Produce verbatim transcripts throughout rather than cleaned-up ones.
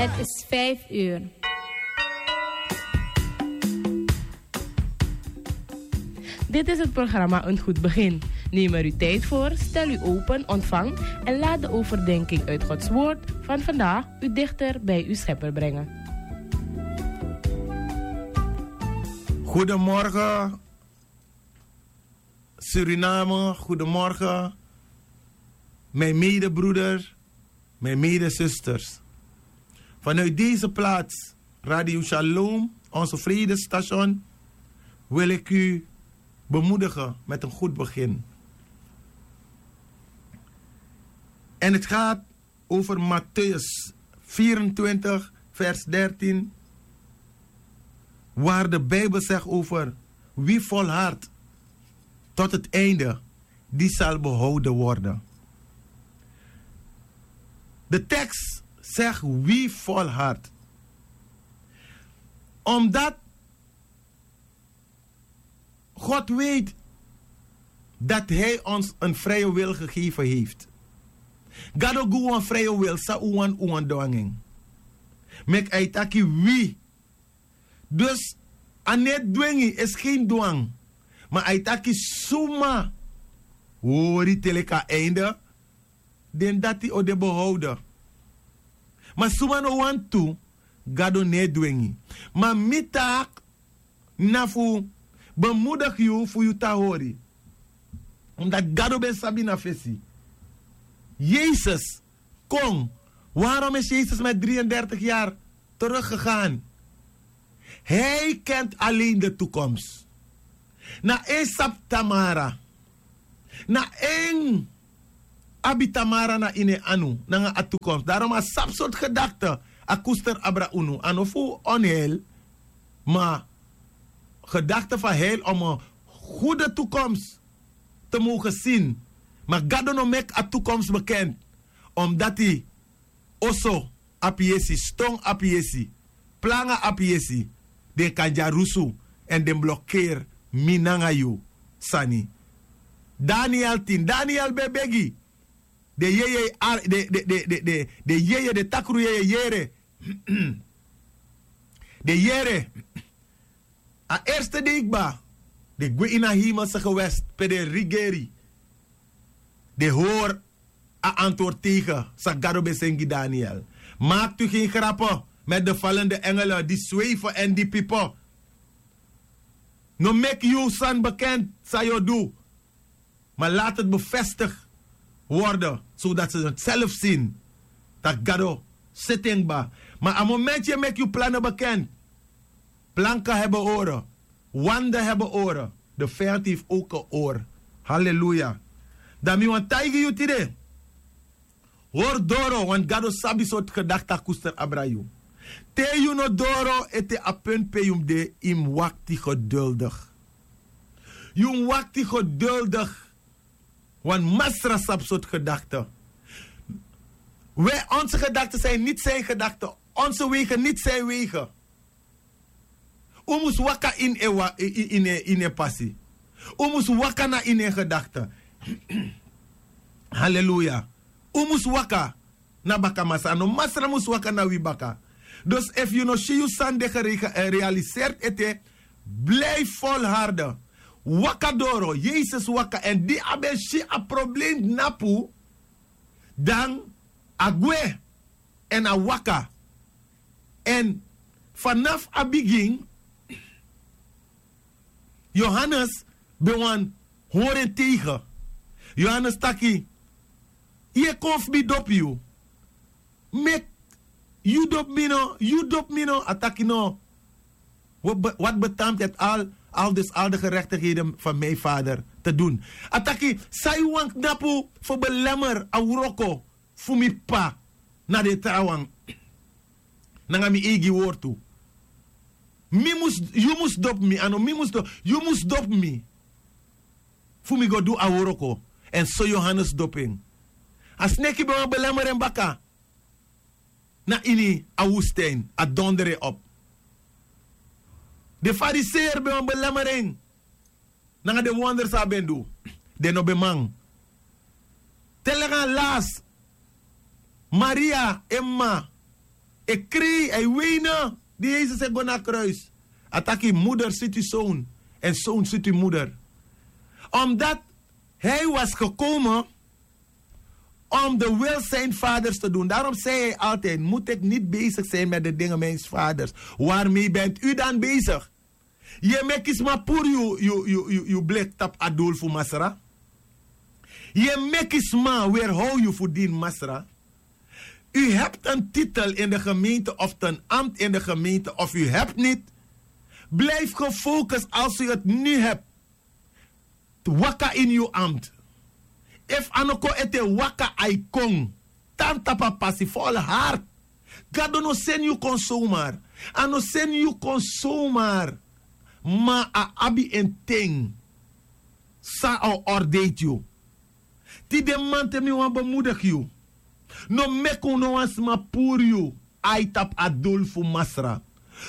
Het is vijf uur. Dit is het programma Een Goed Begin. Neem er uw tijd voor, stel u open, ontvang en laat de overdenking uit Gods Woord van vandaag u dichter bij uw Schepper brengen. Goedemorgen, Suriname, goedemorgen, mijn medebroeder, mijn medezusters. Vanuit deze plaats, Radio Shalom, onze vredesstation, wil ik u bemoedigen met een goed begin. En het gaat over Matthäus vierentwintig, vers dertien, waar de Bijbel zegt over: wie volhardt tot het einde, die zal behouden worden. De tekst zegt: wie volhardt. Omdat God weet dat Hij ons een vrije wil gegeven heeft. Gado gi wan vrije wil, san un wani un wani du nanga en. Meki a e taki wi. Dus a no e dwengi, is geen dwang. Ma a e taki suma hori te leki a einde, den dati o de behouden. Ma suma no wani tu, Gado no e dwengi. Ma mi taak na fu bemoedig yu fu yu tan hori. Omdat Gado ben sabi na fesi. Jezus kon. Waarom is Jezus met drieëndertig jaar teruggegaan? Hij kent alleen de toekomst. Na en sabi Tamara. Na en abi Tamara na ini en anu, nanga a toekomst. Daarom a sabi sortu gedachte a koester abra unu. A no fu onheil, ma gedachte van heil om een goede toekomst te mogen zien. Ma Gado no meki a toekomst bekend, omdat hij oso abi yesi, ston abi yesi, planga abi yesi, den kan dyarusu, èn den blokeri mi nanga yu sani. Daniel tin, Daniel ben begi. Den yeye, den yeye, den takru yeye yere. Den yere. A erste dei kba, den gwe ini a hemelse gewest pe den rigeri. Den hori a antwoord tegen san Gado ben seni gi Daniel. Maakt u geen grappen met de vallende engelen die zweven en die piepen. No meki yu sani bekend san yu o du. Maar laat het bevestigd worden, zodat ze het zelf zien. Dat Gado seti en kba. Maar a momenti yu e meki yu plannen bekend, planken hebben oren, wanden hebben oren. De vijand heeft ook een oor. Halleluja. Dan mi wani taigi yu tide. Hori doro, want Gado sabi sortu gedachte a koester abra yu. Te yu no doro ete a punt pe yu mus de, yu mus wakti geduldig. Yu mus wakti geduldig. Want Masra sabi sortu gedachte. Wij, onze gedachten zijn niet zijn gedachten. Onze wegen niet zijn wegen. Un mus waka ini en pasi. Un mus waka na ini en gedachte. Halleluja. Un mus waka na baka Masra. No Masra mus waka na wi baka. Dus efu yu no si yu sani de gerealiseerd ete, blijf volharden. Waka doro, Yesus waka, èn di a ben si a probleem dnapu, dan a gwe èn a waka. Èn fanafu a bigin, Yohanes ben wani hori en tegen. Yohanes taki: yu e kon fu mi dopu yu. Meki yu dopu mi no, yu dopu mi no. A taki: no. Wat betaamt het al, al dus al de gerechtigheden van mijn vader te doen? A taki: san yu wani knapu fu belemmer a wroko fu mi p'pa na den trawan nanga mi eigi wortu? Mi mus, yu mus dopu mi, a no mi mus dopu, yu mus dopu mi fu mi go du a wroko. Èn so Yohanes dopu en. A sneki ben wani belemmer en baka na ini a woestijn, a dondro en op. Den Fariseer ben wani belemmer en nanga den wonder san a ben du. Den no ben man. Te langa lasi, Maria en m'ma E krei, a e weine. Di yesus e go na a kruis, a taki: moeder siti zoon, en zoon siti moeder. Omdat hij was gekomen om de wil zijn vaders te doen. Daarom zei hij altijd: moet ik niet bezig zijn met de dingen mijns vaders? Waarmee bent u dan bezig? Ye meki sma puru yu yu yu yu yu bleki tapu a dul fu masra. Ye meki sma werhou yu fu dini masra. U hebt een titel in de gemeente of ten ambt in de gemeente of u hebt niet. Blijf gefocust als u het nu hebt. Waka ini yu ambt. Efu a no kon ete, waka a e kon. Tan tapu a pasi, volhard. Gado no seni yu kon somar. A no seni yu kon somar. Ma a abi en ten san a o ordeiti yu. Tide mamanten mi wani bemoedigi yu. No meki un no wan sma puru yu ai tapu a dul fu masra.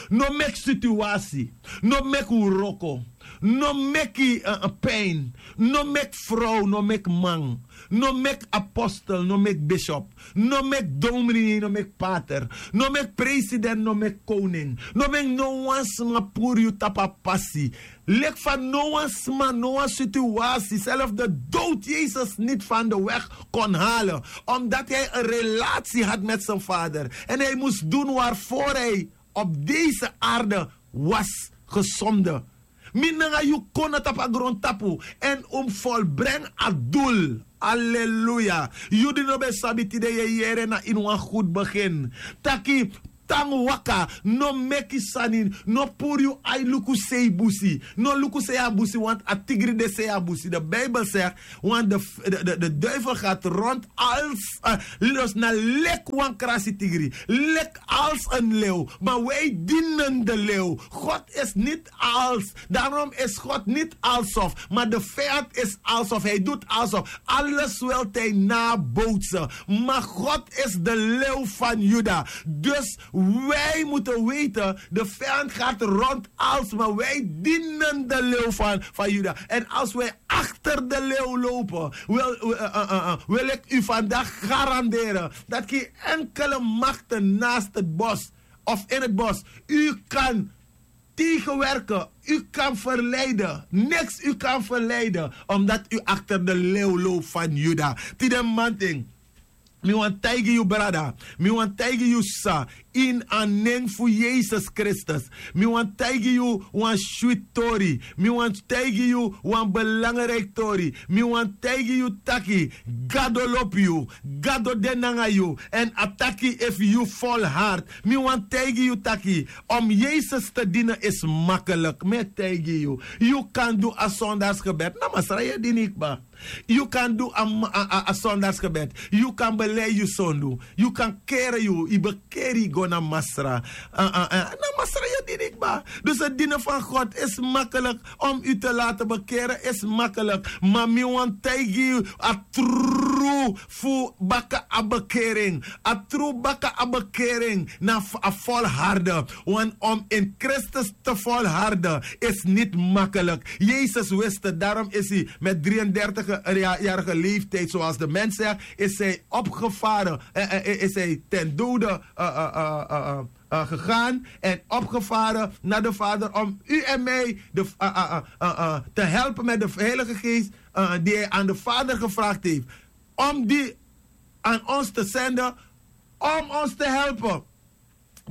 No meki situasi. No meki wroko. No meki pin. No meki frow, no meki man. No meki apostel, no meki bishop. No meki domini, no meki pater. No meki president, no meki koning. No meki no wan sma puru yu tapu a pasi. Leki fa no wan sma, no wan situasi, zelfs de dood yesus niet van de weg kon halen, omdat hij en relatie had met zijn vader en hij moest doen waarvoor hij op deze aarde was gezonden. Mi nanga yu kon na tapu a grontapu en un mus volbrengi a dul. Aleluya. Yu di no ben sabi, tide yu e yere na ini wan gudu begin taki: tan waka, no meki sani, no puru yu ai luku sei busi. No luku sei a busi, want a tigri de sei a busi. De bijbel zegt: want de duivel gaat rond als, los na leki wan krasi tigri, leki als en lew. Maar wij dienen de lew. God is niet als. Daarom is god niet alsof, maar de vijand is alsof, hij doet alsof. Alles wil hij nabootsen. Maar god is de lew van juda. Dus wij moeten weten, de vijand gaat rond als, maar wij dienen de lew van juda. En als wij achter de lew lopen, wil ik u vandaag garanderen dat geen enkele machten naast het bos of in het bos u kan tegenwerken, u kan verleiden. Niks u kan verleiden, omdat u achter de leeuw loopt van juda. Tide manting, mi wan taigi yu brada, mi wan taigi yu sa, in a nen fu yesus kristus. Mi wan taigi yu wan switi tori. Mi wan taigi yu wan belangriki tori. Mi wan taigi yu taki, gado lobi yu, gado de nanga yu. Èn a taki efu yu folhardi, mi wani taigi yu taki, om yesus te dini isi makelik. Mi e taigi yu, yu kan du a sondarsgebed na masra yu e dini yu kba. Yu kan du a sondarsgebed. Yu kan belei yu sondu. Yu kan kere yu yu bekeri yu go na masra. Na masra yu e dini yu kba. Dus a dini fan god isi makelik. Om yu te lati bekere isi makelik. Ma mi wani taigi yu a tru fu baka a bekering. A tru baka a bekering na a folharde. Want om in kristus te folharde is niti makelik. Yesus wist het darom is hij met dri-en-dertig jarige leeftijd zoals de mens zegt, is hij opgevaren, is hij ten dode gegaan en opgevaren na de vader om u en mij te helpen met de heilige geest die hij aan de vader gevraagd heeft om die aan ons te zenden om ons te helpen.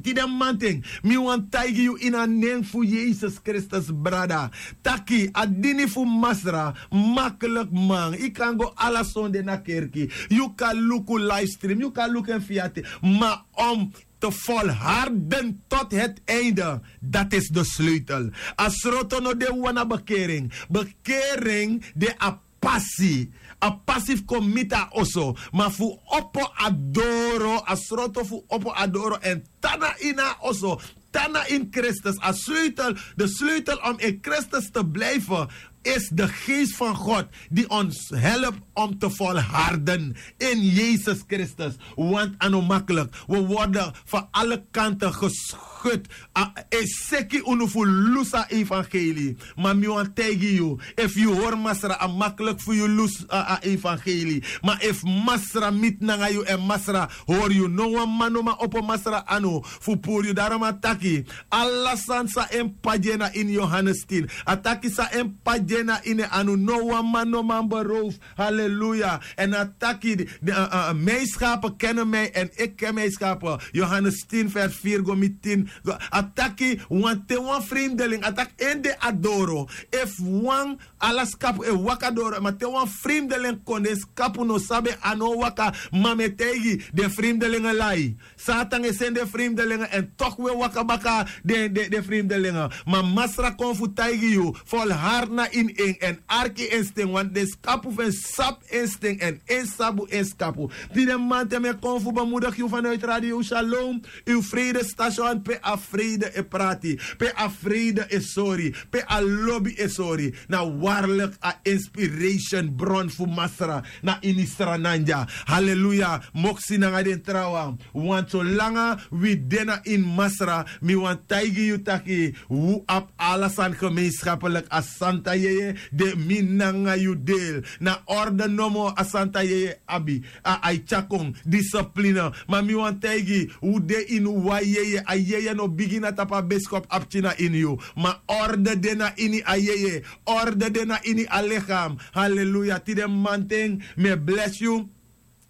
Tide manting, mi wani taigi yu ini a nen fu yesus kristus brada, taki a dini fu masra makelik man. Yu kan go ala sonde na kerki, yu kan luku livestream, yu kan luku en fiati. Ma om te volharden tot het einde, dat is de sleutel. A sroto no de wan na bekering. Bekering de a pasi. A pasi fu kon miti a oso, ma fu opo a doro, a sroto fu opo a doro èn tan na ini a oso, tan na ini kristus. A sleutel, de sleutel om in kristus te blijfen. is de geest van God die ons helpt om te volharden in Jezus Christus. Want a no makkelijk. We worden van alle kanten geschud. A e seki unu fu lusu a evangelie. Ma mi wan taigi yu, efu yu hori Masra, a makkelijk fu yu lusu a, a evangelie. Ma efu Masra miti nanga yu èn Masra hori yu, no wan man no man opo Masra anu fu puru yu. Daarom a taki, ala sani san en p'pa gi en na ini Yohanes tin. A taki san en p'pa gi en na ini en anu, no wan man no man beroof. Haleluya. Èn a taki, de, a, a, mijn schapen kennen mij en ik ken mijn schapen. Yohanes tin vers vier go mi tin. A taki, wan te wan vreemdeling, a taki en de a doro. Efu wan, ala skapu e waka doro, ma te wan vreemdeling kon, den skapu no sabi, a no waka. Ma mi e taigi, den vreemdelingen lai. Satan e seni den vreemdelingen èn toch we waka baka den, den, den vreemdelingen. Ma Masra kon fu taigi yu, volhard na ini en èn arki en sten, want den skapu fu en sabi en sten èn en sabi en skapu. Tide mamanten mi e kon fu bemoedig yu vanuit Radio Shalom, uw vredestation, pe a vrede e prati, pe a vrede e sori, pe a lobi e sori. Na waarlijk a inspiration bron fu Masra na ini Sranan dya. Haleluya. Moksi nanga den trawan. Want solanga wi de na ini Masra, mi wan taigi yu taki, wi abi ala sani gemeenschappelijk. A Santa Yeye de mi nanga yu deel. Na orde nomo a Santa Yeye abi. A, a e tyari kon, discipline. Ma mi wan taigi, wi de ini wan yeye, a yeye no bigin na tapu a beskop a pikin na ini yu. Ma orde de na ini a yeye, orde de na ini a lichaam. Haleluya. Tide mamanten, mi e bless yu.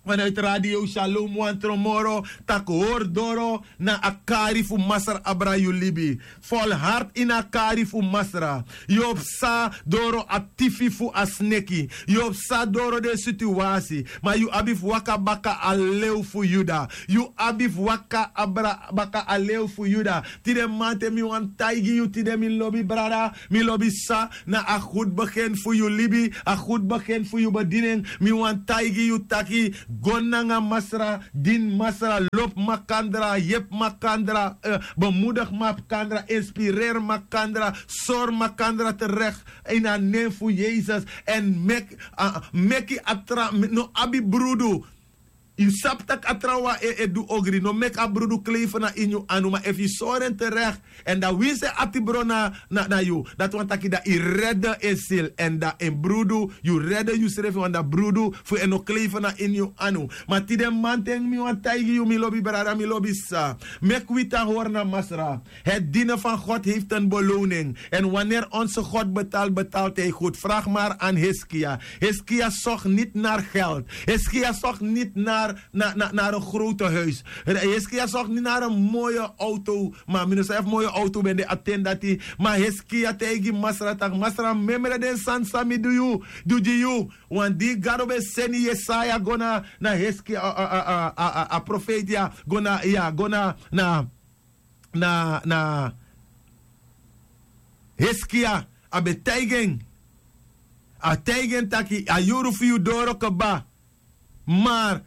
Vanuit Radio Shalom wan tron moro, tak' hori doro na a kari fu Masra abra yu libi. Volhard ini a kari fu Masra. Yu o psa doro a tifi fu a sneki. Yu o psa doro den situasi. Ma yu abi fu waka baka a lew fu Yuda. Yu abi fu waka abra baka a lew fu Yuda. Tide mamanten mi wan taigi yu, tide mi lobi brada, mi lobi sisa, na a goed begin fu yu libi, a goed begin fu yu bediening. Mi wan taigi yu taki, go nanga Masra, dini Masra, lobi makandra, yepi makandra, eh, bemoedig makandra, inspireer makandra, sori makandra terug in a nen fu Yesus. Èn meki, ah, meki a tra, no abi brudu. Yu sabi tak' a trawan e, e du ogri. No meki a brudu kleife na ini yu anu. Ma efu yu sori en terug, èn dan winsi en ati bron na, na, na yu, dati wani taki dan yu rede en sili. Èn dan en brudu, yu rede yusrefi, want dan brudu fu en no kleife na ini yu anu. Ma tide mamanten mi wan taigi yu, mi lobi brada, mi lobi sisa, meki wi tan hori na Masra. Het dienen van God heeft een beloning. En wanneer onze God betaalt, betaalt hij goed. Vraag maar aan Hiskia. Hiskia zocht niet naar geld. Hiskia zocht niet naar, naar, naar, naar een grote huis. Hiskia zocht niet naar een mooie auto. Ma mi no sabi efu mooie auto ben de a ten dati. Ma Hiskia taigi Masra taki, Masra, memre den sani san mi du yu, du gi yu. Want di Gado ben seni Yesaya go na, na Hiskia, a, a, a profeiti ya, go na, ya, go na, na na, na Hiskia, a ben taigi en. A taigi en taki, a yuru fu yu doro kaba. Ma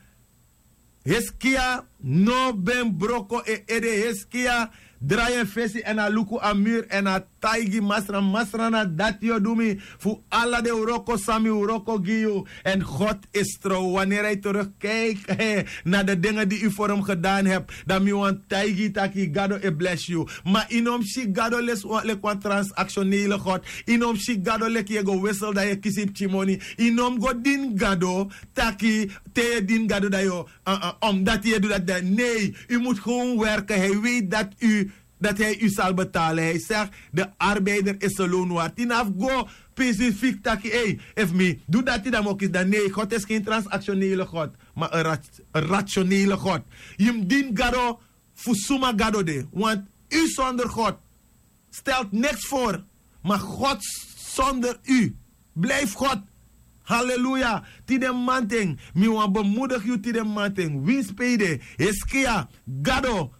Hiskia no ben broko en ede. Hiskia drai en fesi èn a luku a muru èn a taigi Masra, Masra, na dati yu o du mi fu ala den wroko san mi wroko gi yu. Èn God is trouw. Wanneer hij terugkijkt, eh, na de dingen die u voor hem gedaan hebt, dan mi wan taigi yu taki Gado e bless yu. Ma yu no mus si Gado leki wan, leki wan transactionele God. Yu no mus si Gado leki yu e go wissel dan yu e kisi pikin moni. Yu no mus go dini Gado taki te yu e dini Gado dan yu o, eh, eh, omdat yu e du dati dan. Nee, u moet gewoon werken. Hij weet dat u dat hij u zal betalen. Hij zegt, de arbeider is zijn loon waard. Yu no abi fu go specifiek taki, ei, efu mi du dati dan mi o kisi dan. Nee, God is geen transactionele God, maar een rat-, een rationele God. Yu mus dini Gado fu suma Gado de. Want u zonder God stelt niks voor. Maar God zonder u blijft God. Haleluya. Tide mamanten, mi wan bemoedig yu tide mamanten. Winsi pe yu de, Hiskia, Gado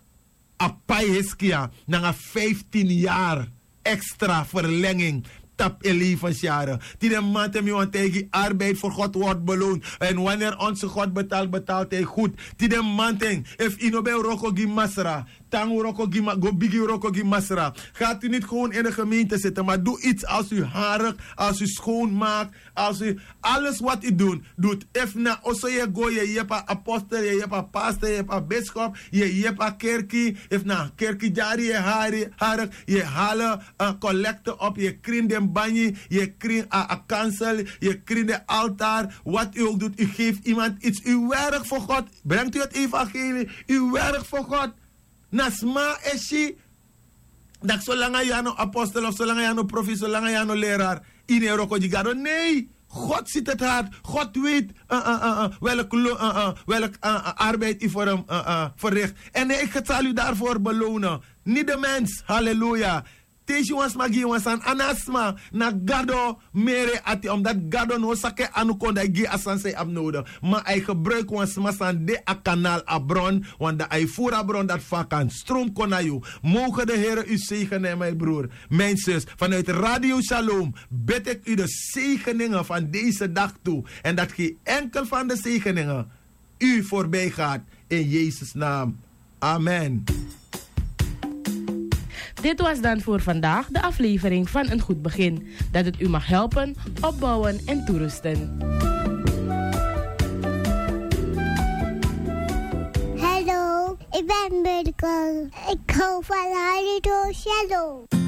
a pai Hiskia nanga vijftien jaar extra verlenging. Tapu en levensjaren. Tide manten mi wani taigi, arbeid voor God wordt beloond. En wanneer onze God betaalt, betaalt hij goed. Tide manten, efu yu no ben wroko gi Masra, tan wroko gi Ma- go bigin wroko gi Masra. Gaat u niet gewoon in de gemeente zitten, maar doe iets als u harig, als u schoonmaakt, als u alles wat u doet, doet. Efu na oso yu e go, yu e yepi a apostel, yu e yepi a pastor, yu e yepi a bischop, yu e yepi a kerki. Efu na kerki dyari yu e hari, harig, yu e hali, eh, collecte op, yu e krin den banyi, yu e krin a, a kansel, yu e krin den altaar. Wat u ook doet, u geeft iemand iets. U werkt voor God. Brengt u het evangelie. U werkt voor God. Na sma e si, dati solanga yu a no apostel of solanga yu a no profeet, solanga yu a no leraar, yu no e wroko gi Gado. Nee, God ziet het hart. God weet, eh, eh, eh, eh, welk lo- eh, eh, welk, eh, eh, arbeid yu voor hem, eh, eh, verricht. En hij zal u daarvoor belonen. Niet de mens. Halleluja. Te yu si wan sma gi yu wan sani, a no a sma, na Gado meri en ati, omdat Gado no o saka en anu kon dan yu gi a sani san yu abi nodig. Ma a e gebruiki wan sma san de a kanal, a bron, want dan a e furu a bron dati fu a kan stroom kon na yu. Mogen de Here u zegenen, mijn broer, mijn zus. Vanuit Radio Shalom bid ik u de zegeningen van deze dag toe. En dat geen enkel van de zegeningen u voorbij gaat. In Jezus' naam. Amen. Dit was dan voor vandaag de aflevering van Een Goed Begin. Dat het u mag helpen, opbouwen en toerusten. Hallo, ik ben Mirko. Ik hou van Radio Shalom.